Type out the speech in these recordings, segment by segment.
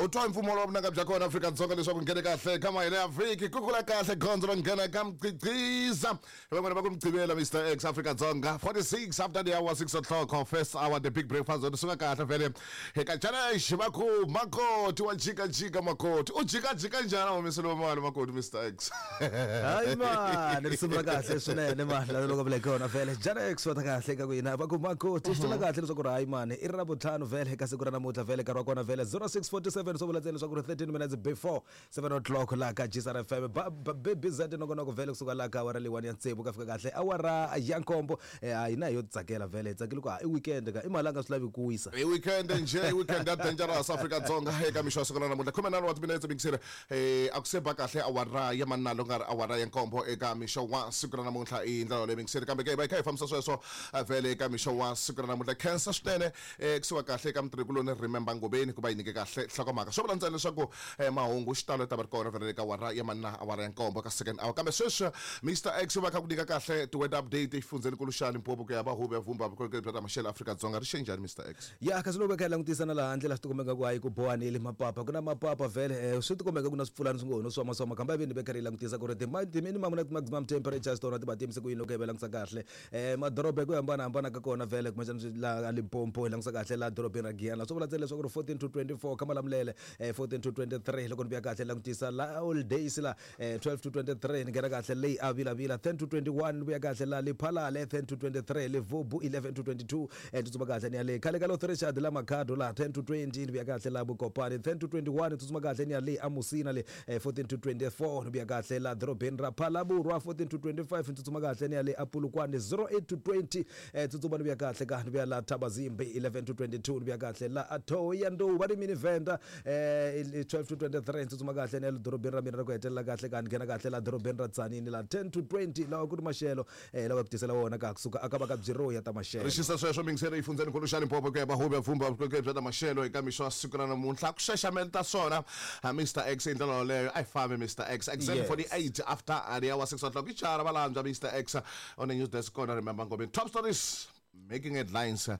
U twa mpfumawulo wa vunanga bya kona Afrika-Dzonga leswaku nghene kahle ka mahele ya vhiki ku kula kahle gondzo ro nghena ka mqhiqhiza. Van'wana va ku Mugqivela Mr X Afrika-Dzonga 46 after the hour 6 o'clock first hour the big breakfast zone suka kahle vele eka challenge va ku makoti wa jikajika makoti u jikajika njhani a humeseliwa mali makoti Mr X. Hayi mani risimu ra kahle swinene mani laha loko vule kona vhele Janex va ta kahle ka ku yina va ku makoti swi tiva kahle leswaku ri hayi mani i ra vutlhanu vhele eka siku ra namuntlha vhele nkarhi wa kona vhele 0647 swo vula ntsena leswaku ri 13 minutes before 7 o'clock laha ka GSR FM ba ba baby Z nongonoko vhele kusuka laha ka awara leyiwani ya tsevu ka fika kahle awara ya nkombo eh, a hina hi yo tsakela vhele hi tsakile ku ha i weekend ka i mali a nga swi lavi ku wisa. I weekend njhe i weekend ya dangerous Afrika-Dzonga eka mixo wa siku ra namuntlha khumenharhu wa timinetse mingiseri eh, a ku se ba kahle awara ya manalo nga ri awara ya nkombo eka mixo wa siku ra namuntlha i ndlela yoleyo mingiseri kambe ke hi va hi kha hi fambisa sweswo eh, vhele eka mixo wa siku ra namuntlha khensa swinene eh, kusuka kahle eka mutirhikuloni Remember Ngobeni ku va yi nyike kahle nhlokomhaka swo vula ntsena leswaku eh, mahungu xitalo ta va ri kona vhele eka awara ya manna awara ya nkombo ka second hour kambe sweswi Mr X u va kha ku nyika kahle ti-weather update exifundzhenikulu xa Limpopo ku ya va huvo ya vumba vukorhokeri bya ta maxelo Afrika-Dzonga ri xe njhani Mr X Ya kasi loko hi kha hi langutisa na laha handle la swi tikomba ingaku hayi ku bohanile mapapa ku na mapapa vhele eh, swi tikomba ingaku na swipfulani swi ngo ho no swama swama kambe a ve ni ve karhi hi langutisa ku ri ti-minimum na ti-maximum temperatures tona ti va ti yimise ku yini loko hi va langutisa kahle eh, madoroba hi ku hambanahambana ka kona vhele kumbexana swi laha Limpopo hi langutisa kahle laha dorobeni ra Giyani swi vula ntsena leswaku ri 14 to 24 ka Malamulele eh, 14 to 23 loko ni vuya kahle langutisa la Old Days la eh, 12 to 23 ni nghena kahle leyi a vilavila 10 to 21 ni vuya kahle la Lephalale 10 to 23 Levubu 11 to 22 eh, tsutsuma kahle ni ya le khale ka North Richard la Makhado la 10 to 20 ni vuya kahle la Bokopane 10 to 21 tsutsuma kahle ni ya le Amusina le eh, 14 to 24 ni vuya kahle la dorobeni ra Phalaborwa 14 to 25 tsutsuma kahle ni ya le Apulukwane 08 to 20 eh, tsutsuma ni vuya kahle ka ni vuya la Thabazimbi 11 to 22 ni vuya kahle la Thohoyandou va ri mini Venda eh, 12 to 23 tsutsuma kahle ni ya le dorobeni ra mina ra ku hetelela kahle ka ni nghena kahle la dorobeni ra Tzaneen la 10 to 20 lawa ku ri maxelo eh, lawa ku tisela wona ka kusuka aka va ka byiro ya ta maxelo. Ri xisa sweswo mingiseri exifundzhenikulu xa Limpopo ku ya va huvo ya vumba vukorhokeri bya ta maxelo eka mixo wa siku ra namuntlha ku xaxameta swona ha Mr X hi ndlela yoleyo a hi fambi Mr X exactly 48 after the hour 6 o'clock i chara valandzwa Mr X on the news desk kona remember Ngobeni top stories making headlines eh,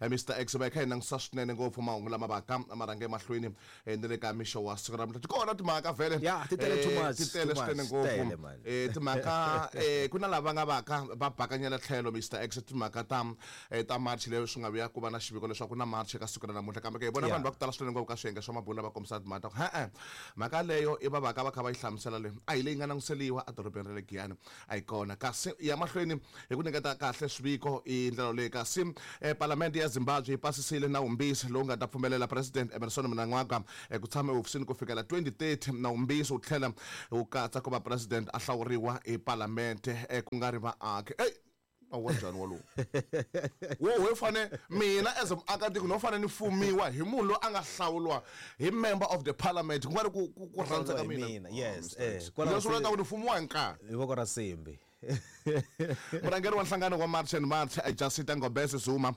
Mr X va kha hi langutisa swinene ngopfu mahungu lama vaka ma rhange emahlweni eh, ni le ka mixo wa siku ra namuntlha ti kona timhaka vhele Ya, ti tele too Eh, much, ti tele too much, swinene tele, ngopfu man. Eh, timhaka eh, ku na lava nga vaka va bakanyela tlhelo Mr X timhaka ta eh, ta march leyo swi nga vuya ku va na xiviko leswaku na march eka siku ra namuntlha kambe ke hi vona Yeah. vanhu va ku tala swinene ngopfu ka swiyenge swa mabulu lava kombisa timhaka ta ku he-e mhaka leyo i va vaka va kha va yi hlamusela leyi a hi leyi nga langutiseliwa edorobeni ra le Giyani a yi kona kasi ya mahlweni hi ku nyiketa kahle swiviko i ndlela leyi kasi eh, palamende ya Zimbabwe yi pasisile nawumbisi lowu nga ta pfumelela President Emmerson Mnangagwa eh, ku tshama ehofisini ku fikela 2030 nawumbisi wu tlhela wu katsa ku va president a hlawuriwa hi palamente eh, ku nga ri vaaki ey nawu wa njhani walowu wo we fane mina as muakatiko no fane ni fumiwa hi munhu loyi a nga hlawuriwa hi member of the parliament ku nga ri ku ku ku rhandza ka Hi mina mina, yes, Oh, Mr. eh, X. kwalaho Leswi vulaka se- ku ni fumiwa hi nkarhi hi voko ra simbi murhangeri wa nhlangano wa March and March eh, Jacinta Ngobese Zuma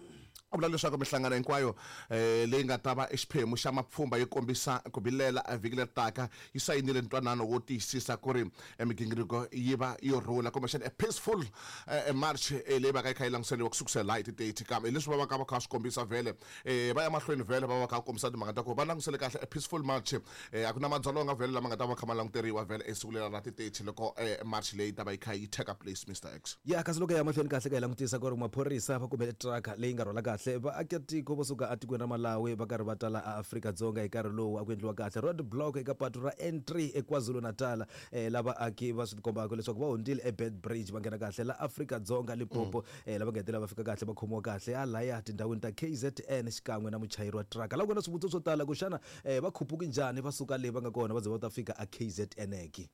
u vula leswaku mihlangano hinkwayo eh, leyi nga ta va xiphemu xa mapfhumba yo kombisa ku vilela eh, vhiki leri taka yi sayinile ntwanano wo tiyisisa ku ri eh, migingiriko yi va yo rhula kumbexana a peaceful eh, march eh, leyi va ka yi kha yi langutiseriwa ku sukusela hi ti-30 kambe hi leswi va va ka va kha va swi kombisa vhele eh, va ya mahlweni vhele va va kha va kombisa timhaka ta ku va langutisele kahle a peaceful march eh, a ku na madzolonga vhele lama nga ta va kha ma languteriwa vhele esiku leri ra ti-30 loko eh, march leyi ta va yi kha yi take place Mr X Ya kasi loko hi ya mahlweni kahle ka hi langutisa ku ri maphorisa va kumele truck leyi nga rhwala kahle vaakatiko vo suka etikweni ra Malawi va karhi va tala eAfrika-Dzonga hi nkarhi lowu a ku endliwa kahle road block eka patu ra N3 eKwaZulu-Natal eh, la vaaki va swi tikombaka leswaku va hundzile eBed Bridge va nghena kahle la Afrika-Dzonga Limpopo eh, lava nga hetelela va fika kahle va khomiwa kahle halaya tindhawini ta KZN xikan'we na muchayeri wa truck la ku na swivutiso swo tala ku xana eh, va khupuki njhani va suka le va nga kona va ze va ta fika a KZN ki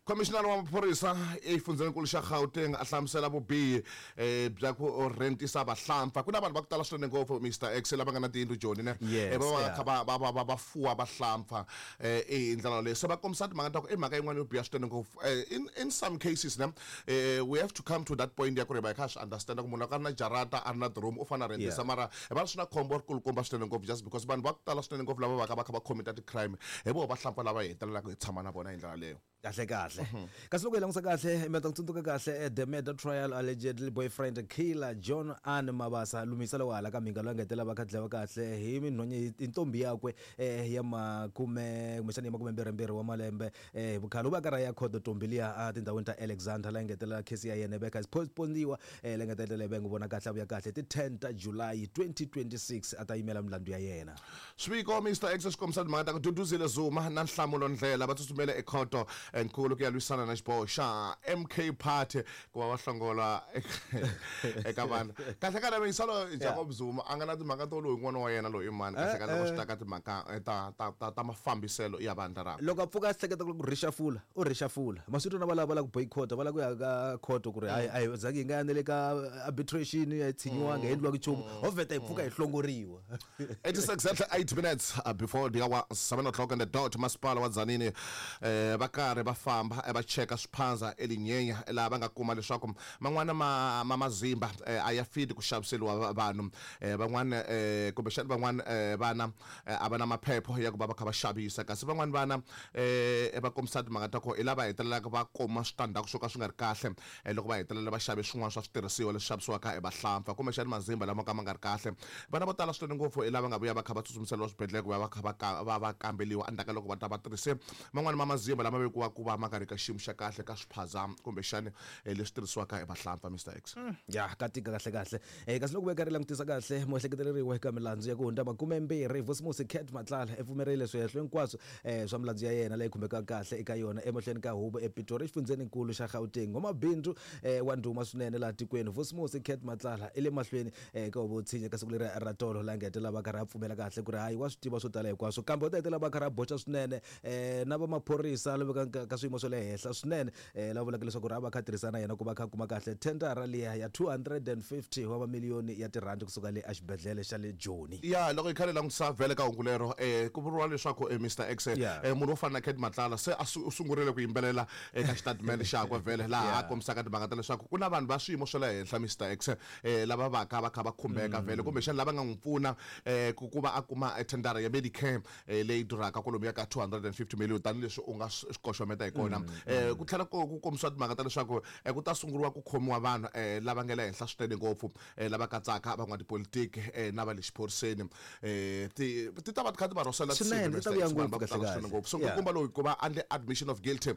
Khomishinara wa maphorisa exifundzhenikulu xa Gauteng a hlamusela vubihi eh, bya ku rentisa vahlampfa. Ku na vanhu va ku tala swinene ngopfu Mr X lava nga na tiyindlu Joni ne Yes, Eh, va va yeah. kha va va va va va fuwa vahlampfa eh, hi ndlela leyo. Se va kombisa timhaka ta ku i mhaka yin'wana yo biha swinene ngopfu. Eh, in some cases ne eh, we have to come to that point ya ku ri va hi kha swi understand ku munhu loko a ri na jarata a ri na diromu u fanele a rentisa Yeah. mara hi va swi na khombo ri kulukumba swinene ngopfu just because vanhu va ku tala swinene ngopfu lava va ka va kha va commit ti-crime hi voho vahlampfa lava hi hetelelaka hi tshama na vona hi ndlela leyo. Kahle kahle. Kasi loko hi langusa kahle, mi ta tsundzuka kahle the murder trial allegedly boyfriend killer John Ann Mabasa Lumisa lowa hala ka Mhinga loyi a nga hetelela va kha dlayiwa kahle hi minhonye hi ntombi yakwe ya makume kumbexana ya makumembirhimbirhi wa malembe hi vukhale. U va a karhi a ya khoto ntombi liya a tindhawini ta Alexander laha yi nga hetelela case ya yena yi va yi kha yi postpone-iwa leyi nga ta hetelela yi va yi n'wi vona kahle a vuya kahle ti 10 ta July 2026 a ta yimela milandzu ya yena. Swiviko Mister X swi kombisa timhaka ta ku Duduzile Zuma na Nhlamulo Ndlela va tsutsumele ekhoto nkulu ku ya lwisana na xiboho xa MK Party ku va va hlongola eka vanhu. Kahle kahle Meyisalo Jacob Zuma a nga na timhaka to loyi n'wana wa yena loyi i mani kahle kahle loko swi ta ka timhaka ta mafambiselo ya vandla rakwe. Loko a pfuka a hleketa ku rhixafula u rhixafula. Ma swi twa na valava va lava ku boycott-a va lava ku ya ka khoto ku ri hayi a hi zangi hi nga ya na le ka arbitration a hi tshinyiwanga a hi endliwangi nchumu ho vheta hi pfuka hi hlongoriwa. It is exactly 8 minutes before the hour 7 o'clock on the dot. Masipala wa Tzaneen va karhi va famba va cheka swiphandza eLinyenya laha va nga kuma leswaku man'wana ma ma mazimba a ya fiti ku xaviseriwa vanhu van'wana kumbexana van'wana vana a va na maphepho ya ku va va kha va xavisa kasi van'wana vana va kombisa timhaka ta ku hi lava hetelelaka va kuma switandzhaku swo ka swi nga ri kahle loko va hetelela va xave swin'wana swa switirhisiwa leswi xavisiwaka hi vahlampfa kumbexana mazimba lama ka ma nga ri kahle. Vana vo tala swinene ngopfu hi lava nga vuya va kha va tsutsumiseriwa swibedhlele ku va va kha va va va kamberiwa endzhaku ka loko va ta va tirhise man'wana ma mazimba lama vekiwaka ku va ma nga ri ka xiyimo xa kahle ka swiphaza kumbexana leswi tirhisiwaka hi vahlampfa. Mister X. Ya ka tika kahle kahle. Kasi loko va karhi langutisa kahle muehleketeleriwa eka milandzu ya ku hundza makumembirhi Vusimusi Cat Matlala i pfumerile swihehlo hinkwaswo swa milandzu ya yena leyi khumbekaka kahle eka yona emahlweni ka huvo ePitori exifundzheninkulu xa Gauteng. N'wamabindzu wa ndhuma swinene laha tikweni Vusimusi Cat Matlala i le mahlweni ka huvo yo tshinya ka siku leri ra tolo laha nga hetelela va karhi a pfumela kahle ku ri hayi wa swi tiva swo tala hinkwaswo kambe u ta hetelela va karhi a boxa swinene na va maphorisa lava ka swiyimo swa le henhla swinene lava vulaka leswaku ri a va kha tirhisana na yena ku va kha kuma kahle thendara liya ya 250 wa mamiliyoni ya tirhandi kusuka le exibedhlele xa le Joni. Ya loko hi kha hi langutisa vhele ka hungu lero ku vuriwa leswaku Mister X munhu wo fana na Cat Matlala se a u sungurile ku yimbelela eka xitatimende xakwe vhele laha a kombisaka timhaka ta leswaku ku na vanhu va swiyimo swa le henhla Mister X lava va ka va kha va khumbeka vhele kumbexana lava nga n'wi pfuna ku va a kuma thendara ya Medicare leyi durhaka kwalomuya ka 250 million tanihileswi u nga swi koxometa hi kona. Ku tlhela ku kombisiwa timhaka ta leswaku ku ta sunguriwa ku khomiwa vanhu lava nga le henhla swinene ngopfu lava katsaka van'watipolitiki na va le xiphoriseni. Ti ti ta va ti kha ti va rhosela Swinene, ti ta vuya vanhu va ngopfu ku tala kahle swinene kahle. ngopfu. So Yeah. nkulukumba loyi ku va a endle admission of guilty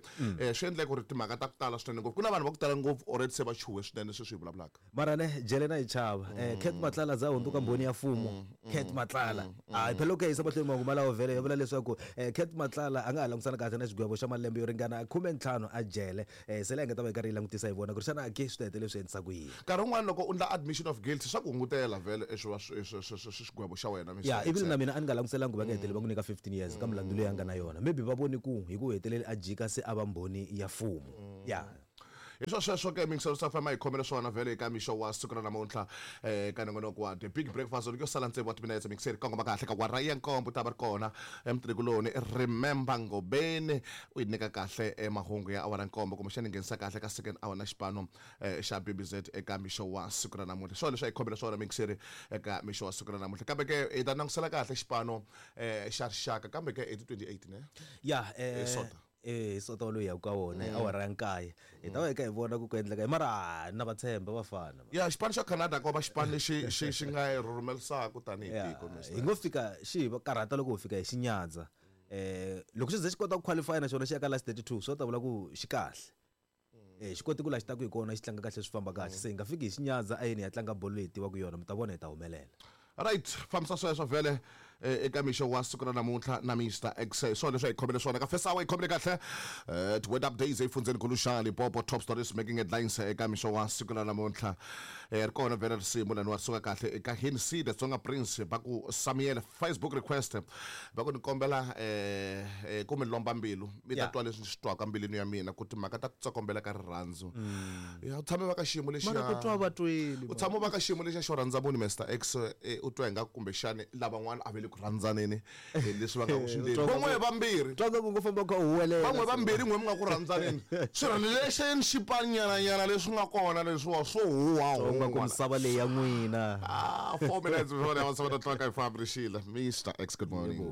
swi endle ku ri timhaka ta ku tala swinene ngopfu. Ku na vanhu va ku tala ngopfu already se va chuhe swinene sweswi hi vulavulaka. Mara ne jele na yi chava. Cat Matlala za hundzuka mbhoni ya mfumo. Cat Matlala. Hayi phela loko hi yisa mahlweni mahungu malawo vhele ya vula leswaku Cat Matlala a nga ha langusana kahle na xigwevo xa malembe yo ringana 15 a jele. Se leyi nga ta va yi karhi yi langutisa hi vona ku ri xana ke swi ta hetelela swi endlisa ku yini. Nkarhi wun'wani loko u ndla admission of guilt swa ku hungutela vhele xigwevo xa wena Mister Ya, even na X. mina a ni nga languselanga ku va nga heteleli va n'wi nyika 15 years ka milandzu leyi a nga na yona. Maybe va vone ku hi ku heteleli a jika se a va mbhoni ya mfumo. Ya. Hi swo sweswo ke mingiselo swa fama hi khomele swona vhele eka mixo wa siku ra namuntlha ka nongonoko wa The Big Breakfast loko yo sala tsevu wa timinetse mingiseri kongoma kahle ka wara ya nkombo ta va ri kona emutirikuloni Remember Ngobeni u yi nyika kahle mahungu ya awara nkombo kumbexana nghenisa kahle ka second hour na xipano xa BBZ eka mixo wa siku ra namuntlha. Swona leswi a hi khomele swona mingiseri eka mixo wa siku ra namuntlha kambe ke hi ta langutisela kahle xipano xa rixaka kambe ke i ti 28 ne Ya Sonta. Hi Sonta lowu hi yaka ka wona hi awara ya nkaye hi ta va hi kha hi vona ku ku endleka yini mara na va tshemba vafana. Ya xipano xa Canada ko va xipano lexi xi xi nga hi rhurhumerisaka tanihi tiko Hi ngo fika xi hi karhata loko ho fika hi xi nyadza loko xi ze xi kota ku qualify na xona xi ya ka last 32 swo ta vula ku xi kahle. Xi kote ku laha xi taka hi kona xi tlanga kahle swi famba kahle se hi nga fiki hi xi nyadza a yini hi ya tlanga bolo leyi hi tivaka yona mi ta vona hi ta humelela. Right fambisa sweswo vhele eka mixo wa siku ra namuntlha na Mister X hi swona leswi a hi khomele swona ka first hour hi khomele kahle ti-word updates efundzeni xa Limpopo top stories making headlines eka mixo wa siku ra namuntlha ri kona vhele risimu lani wa suka kahle eka Hinsi the Tsonga Prince va ku Samuel Facebook request va ku ni kombela ku mi lomba mbilu mi ta twa leswi ni swi twaka mbilwini ya mina ku timhaka ta ku tsokombela ka rirhandzu. Ya u tshame va ka xiyimo lexiya. Mara ku twa va tweli. U tshame va ka xiyimo lexiya xo rhandza munhu Mister X u twa ingaku kumbexani lavan'wana a va le ku rhandzaneni leswi va nga ku swi endleni. Van'we vambirhi. Twa nga ku ngo famba u kha u huwelela. Van'we vambirhi n'we mi nga ku rhandzaneni. Swirho lexi xipanyananyana leswi nga kona leswiwa swo huwa Twa nga ku misava leyi ya n'wina. 4 minutes before the hour 7 o'clock I Fabrice Sheila. Mr. X, good morning.